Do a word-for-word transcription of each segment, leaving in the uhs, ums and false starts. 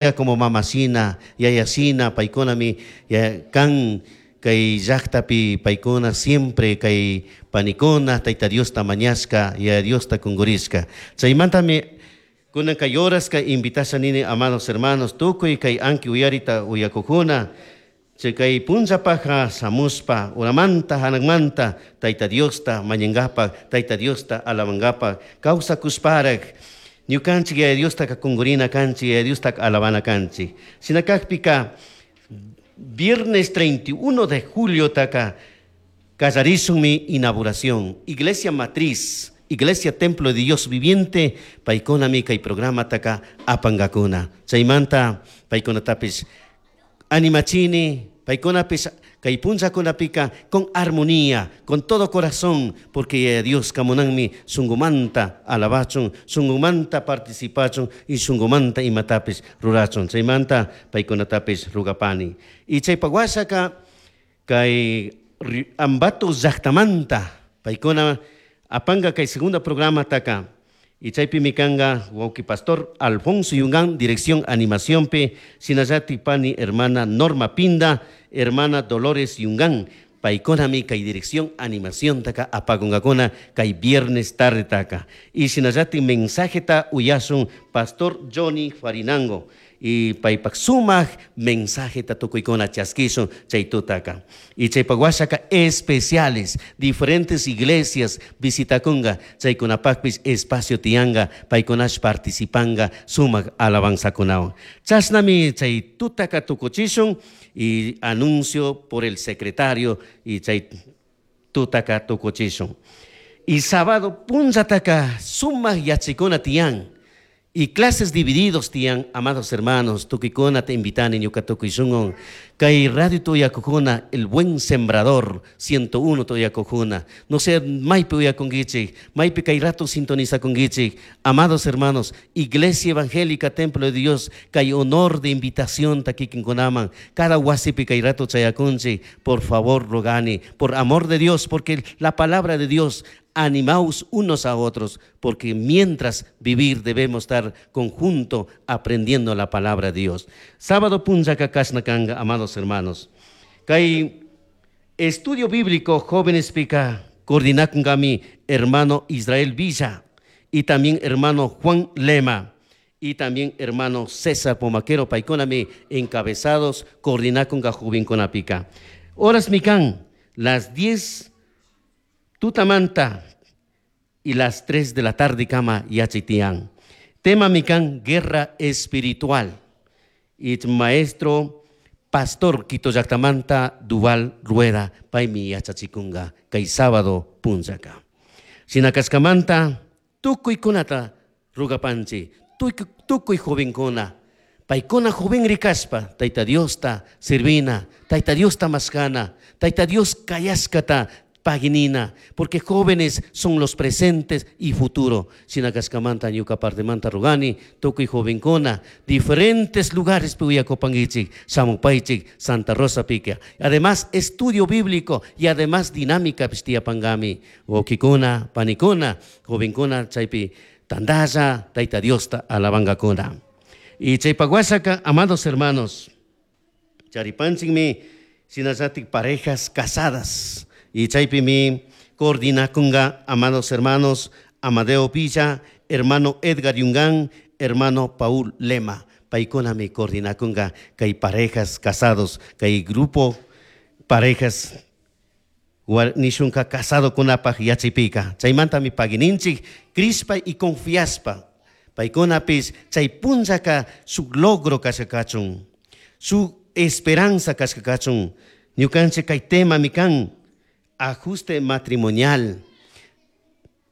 Como mamashina, yayashina, paykunami kan kay llaqtapi paykuna siempre kay panikuna Tayta Diosta mañashka, Yaya Diosta kungurishka. Chaymantami kunan kay horaska invitasha nini, amados hermanos, tukuy kay anki uyarita uyakukuna, chay kay punllapaja shamushpa uramanta hanakmanta Tayta Diosta mañangapak, Tayta Diosta alabangapak, kawsakushparak ñukanchik Yaya Diostaka kungurina kanchik, Yaya Diostaka alabana kanchik. Shina kakpika viernes treinta y uno de julio taka kallarishunmi inauguración Iglesia Matriz, Iglesia Templo de Dios Viviente, paykunami kay programa taka apangakuna. Chaymanta paykunatapis animachini, paykunapis kay punllakunapika con armonía, con todo corazón, porque Yaya Dios kamunanmi shungumanta alabachun, shungumanta participachun y shungumanta imatapis rurachun. Chaymanta paykunatapis rugapani. Y chaypa washaka kay Ambato llaqtamanta paykuna apanga kay segunda programa taka. Y chaypi mikanga wawqi pastor Alfonso Yungán, dirección animación pe, sinallati pani hermana Norma Pinda, hermana Dolores Yungán, paykunami kay dirección animación taka apagungakuna kay viernes tarde taka. Y sinallati mensajeta uyasun pastor Johnny Farinango. Y paypak sumaq mensajeta tukuykuna chaskisun chay tutaka. Y chaypak washaka especiales, diferentes iglesias visitakunga, chaykunapakpis espacio tiyanga, paykunash participanga sumaq alabanzakunawan. Chashnami chay tutaka tukuchishun y anuncio por el secretario y chay tutaka tukuchishun. Y sábado punllataka sumaq yachikuna tiyan. Y clases divididos tiyan, amados hermanos, tukikuna te invitani ñuka tukuyshungun. Kay radio tuyakujuna, el buen sembrador, ciento uno tuyakujuna. No sé, maypi uyakunguichik, maypi kay rato sintonizakunguichik. Amados hermanos, Iglesia Evangélica Templo de Dios, kay honor de invitación takikinkunaman. Cada wasipi kay rato chayakunchik, por favor, rogani, por amor de Dios, porque la palabra de Dios, animaos unos a otros, porque mientras vivir debemos estar conjunto aprendiendo la palabra de Dios. Sábado punchaka kashnakanga, amados hermanos. Kay estudio bíblico jóvenes pica coordinakungami hermano Israel Villa y también hermano Juan Lema y también hermano César Pomaquero paykunami encabezados coordinakunga jovenkunapica. Horas mikan las diez tutamanta y las tres de la tarde kama yachitian. Tema mikan guerra espiritual. Y maestro pastor Quito llaqtamanta Duval Rueda paymi yachachikunga kay sábado punllaka. Shinakashkamanta tukuykunata rugapanchi, tukuy jovenkuna, paykuna joven rikashpa Tayta Diosta servina, Tayta Diosta mashkana, Tayta Dios kayashkata paginina, porque jóvenes son los presentes y futuro. Shinakashkamanta ñuka partemanta rugani, tukuy jovenkuna, diferentes lugares puyakopangichik, Samupaichik, Santa Rosa pica. Además, estudio bíblico y además dinámica pistiyapangami. Wawkikuna, panikuna, jovenkuna, chaypi tandalla, Tayta Diosta alabangakuna. Y chaypaguasaka, amados hermanos, charipanchikmi, shinallatik parejas casadas. Y chaypimi coordinakunga, amados hermanos, Amadeo Villa, hermano Edgar Yungán, hermano Paul Lema. Paykunami coordinakunga kay parejas casados, kay grupo parejas nishunka casado kunapaj yachaypika. Chaymantami pagininchik, crispa y confiaspa. Paykunapis chay punllaka su logro kashkakachun, su esperanza kashkakachun. Ñukanchik kay tema mikan ajuste matrimonial.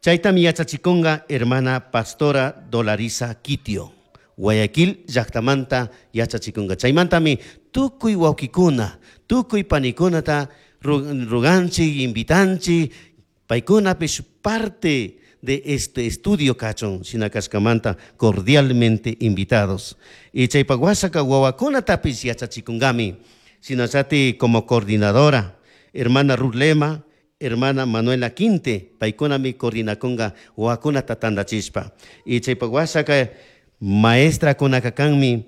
Chaytami yachachikunga hermana pastora Dolariza Quitio. Guayaquil llaqtamanta yachachikunga. Chaymantami tukuy wawkikuna, tukuy panikunata ruganchik, invitanchik, paykunapish parte de este estudio kachun, shinakashkamanta cordialmente invitados. Y chaypak washaka wawakunatapis yachachikungami, shinallati como coordinadora, hermana Ruth Lema, hermana Manuela Quinte, paykunami coordinakunga wawakunata tandachishpa. Y chaypak washaka maestra kunakakanmi